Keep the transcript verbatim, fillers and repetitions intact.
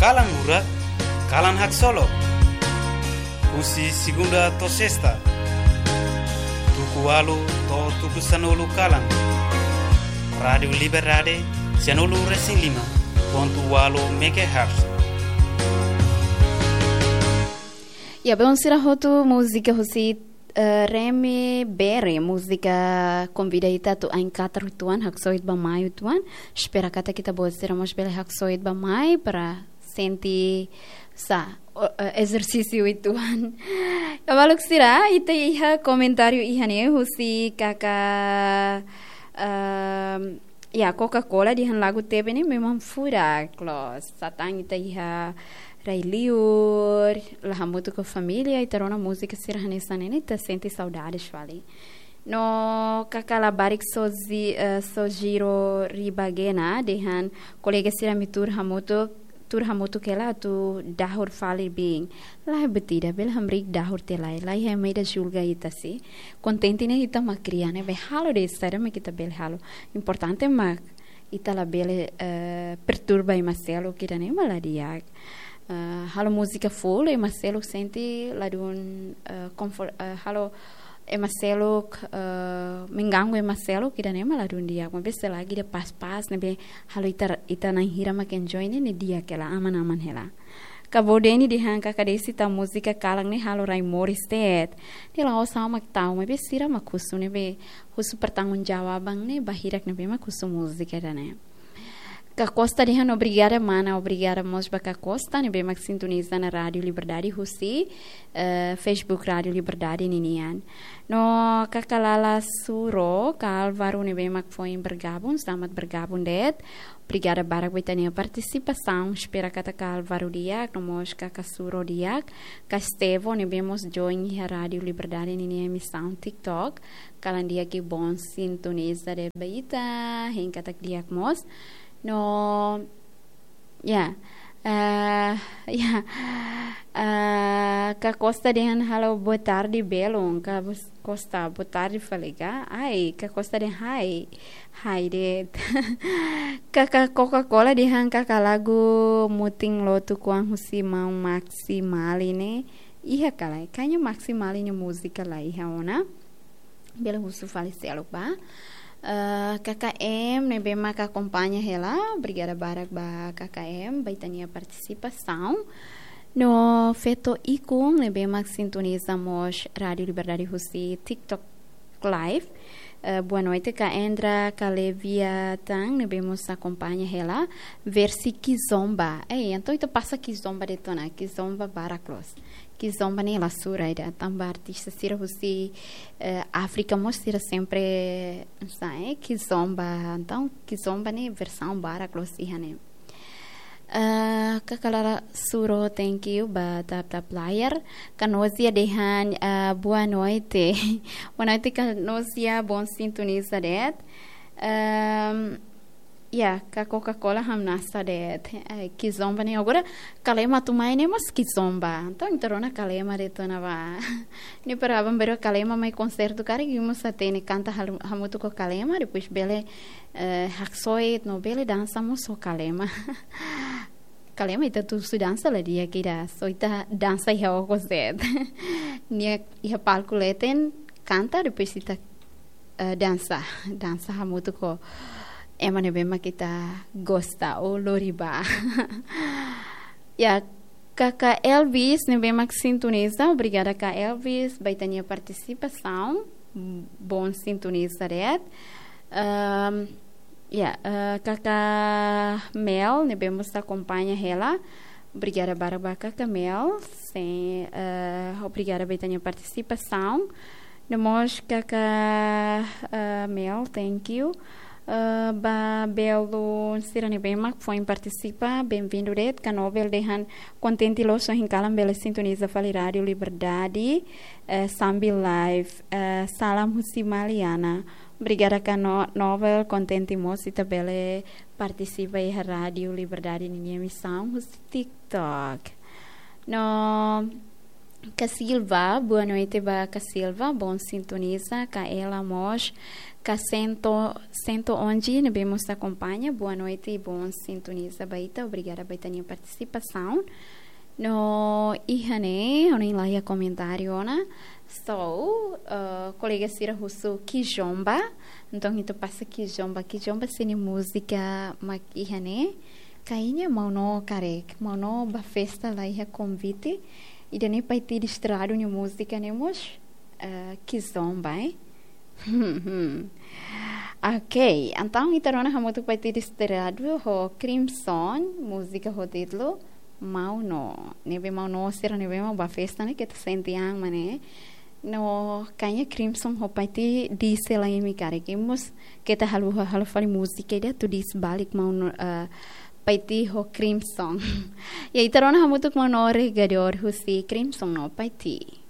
Kalan Lurak, Kalan Haksolok. Husi segunda to'o sesta, tuku ualu to'o tuku sanulu kalan. Rádiu Liberdade, sianulu resin lima pontu ualu megahertz. Ya, belun sira hotu, múzika husi, eh, Remy Berry, múzika konvida ita atu ain katar uitoan, haksoit ba mai uitoan. Espera katak ita-boot sira mós bele haksoit ba mai para sente sa, o, eh, ezersísiu uitoan. Kabaluk sira, ita iha komentáriu iha ne'e husi kaka, ehm, ya, Coca-Cola dehan lagu tebe ne'e memang furak loos. Satán ita iha rai-liur, la hamutuk ho família, ita rona múzika sira hanesan ne'e, ita sente saudades fali. No kaka labarik Soji-, eh, Sojiro Ribagena, dehan kolega sira ami tuur hamutuk, tuur hamutuk hela atu dahur fali biin. Lae, buat ida, bele hamriik dahur tiha lai. Lae, ema ida julga ita si. Kontente ne'e ita mak kria ne'e, be halo de'it saida mak ita bele halo. Importante mak ita labele, eh, perturba ema seluk, ida-ne'e mak la di'ak. Eh, halo múzika full, ema seluk sente ladún, eh, comfort, eh, halo ema seluk, eh, mengganggu ema seluk, ida-ne'e mak ladún di'ak. Maibé selagi ida pás-pás, ne'ebé halo ita, ita na'in hira mak enjoy ne'e, ne'e di'ak hela, aman-aman hela. Kabo Deni dehan kaka Desi, ita múzika kalan ne'e halo rai moris de'it. Ne'e la'ós ha'u mak tau, maibé sira mak husu, ne'ebé husu pertanggungjawaban ne'e ba hirak ne'ebé mak husu múzika ida-ne'e. Kaka Costa dehan obrigada mana, obrigada mós ba Kaka Costa ne'ebé mak sintoniza ona Rádiu Liberdade husi, eh, Facebook Rádiu Liberdade ninian. No kaka Lala Suro, kaka Álvaro ne'ebé mak foin bergabung, selamat bergabung de'it. Obrigada barak ba ita-nia partisipasaun, espera katak kaka Álvaro di'ak, no mós kaka Suro di'ak, kaka Estevo ne'ebé mós join iha Rádiu Liberdade ninia emisaun TikTok. Kalan di'ak, bom sintoniza de'it ba ita, hein katak di'ak mós. No, ya, eh, ya, eh, kaka Costa dehan halo boa tarde belun, kaka Bos-, Costa, boa tarde fali ka? Ai, kaka Costa dehan hai, hai de'it. Kaka Coca-Cola dehan kaka lagu Mutin Lotu Kuang husi maun Maxi Mali ne'e iha ka lae? Kayaknya Maxi Mali nia múzika la iha ona. Bele husu fali seluk ba. Eh, kaka M ne'ebé mak akompaña hela, obrigada barak ba kaka M, ba ita-nia partisipasaun. No feto Ikun ne'ebé mak sintoniza mós Rádiu Liberdade husi TikTok Live. Eh, boa noite, kaka Endra, kaka Levia Tan ne'ebé mós akompaña hela. Versi Kizomba. Ei, entaun ita pasa Kizomba de'it ona, Kizomba barak loos. Kizomba ne'e la sura ida, tanba artista sira husi, eh, Áfrika mós sira sempre sai, eh, Kizomba. Entaun, Kizomba ne'e versaun barak loos iha ne'e. Eh, kaka Lala Suro, thank you ba tap-tap layar. Kaka Nozia dehan, eh, boa noite. Boa noite, kaka Nozia, bom sintoniza de'it. Ehm, Ya, kaka Coca-Cola hamnasa de'it. Ai, Kizomba ne'e. Agora, Kalema atu mai ne'e mós Kizomba. Entaun, ita rona Kalema de'it ona ba. Ne'e para aban-bainrua Kalema mai konsertu karik, imi mós hatene kanta halu-, hamutuk ho Kalema, depois bele, eh, haksoit no bele dansa mós ho Kalema. Kalema ita atu husu dansa la di'ak ida, só ita dansa iha okos de'it. Nia iha palku leten, kanta, depois ita, eh, dansa, dansa hamutuk ho ema ne'ebé mak ita gosta ou lori ba. Ya, kaka Elvis ne'ebé mak sintoniza, obrigada kaka Elvis ba ita-nia partisipasaun. Bom sintoniza de'it. Ehm, ya, eh, kaka Mel ne'ebé mós akompaña hela. Obrigada barak ba kaka Mel. Sin, eh, obrigada ba ita-nia partisipasaun. No mós kaka, eh, Mel, thank you. Eh, ba belun sira ne'ebé mak foin partisipa, benvindu de'it. Kaka Nobel dehan kontente loos ohin kalan bele sintoniza fali Rádiu Liberdade, eh, sambil live. Eh, salam husi Maliana. Obrigada kaka No-, Nobel, kontente mós ita bele partisipa iha Rádiu Liberdade ninia emisaun husi TikTok. No, Ka Silva, boa noite ba Ka Silva, bom sintoniza, Ka Ela mós, Ka Sento, Sento Onji, ne'ebé mós akompaña, boa noite, bom sintoniza ba ita, obrigada ba ita-nia partisipasaun. No iha ne'e, ha'u hanoin la iha komentáriu ona, so, eh, kolega sira husu Kizomba, entaun ita pasa Kizomba, Kizomba sira-nia múzika mak iha ne'e, kayaknya Maun Noo karik, Maun Noo ba festa la iha konvite, ida-ne'e Paiti Desterradu nia múzika ne'e mós, eh, Kizomba, eh. Ok, entaun ita rona hamutuk Paiti Desterradu ho Crimson, múzika ho títulu Maun Noo. Ne'ebé Maun Noo sira ne'ebé mak ba festa ne'e, keta sente an mak ne'e. No kayaknya Crimson ho Paiti Desterradu imi karik, imi mós keta haluha halo fali múzika ida atu dehan balik Maun Noo, eh, Paiti ho Crimson. Ya, ita rona hamutuk Maun Noo Regador husi Crimson no Paiti.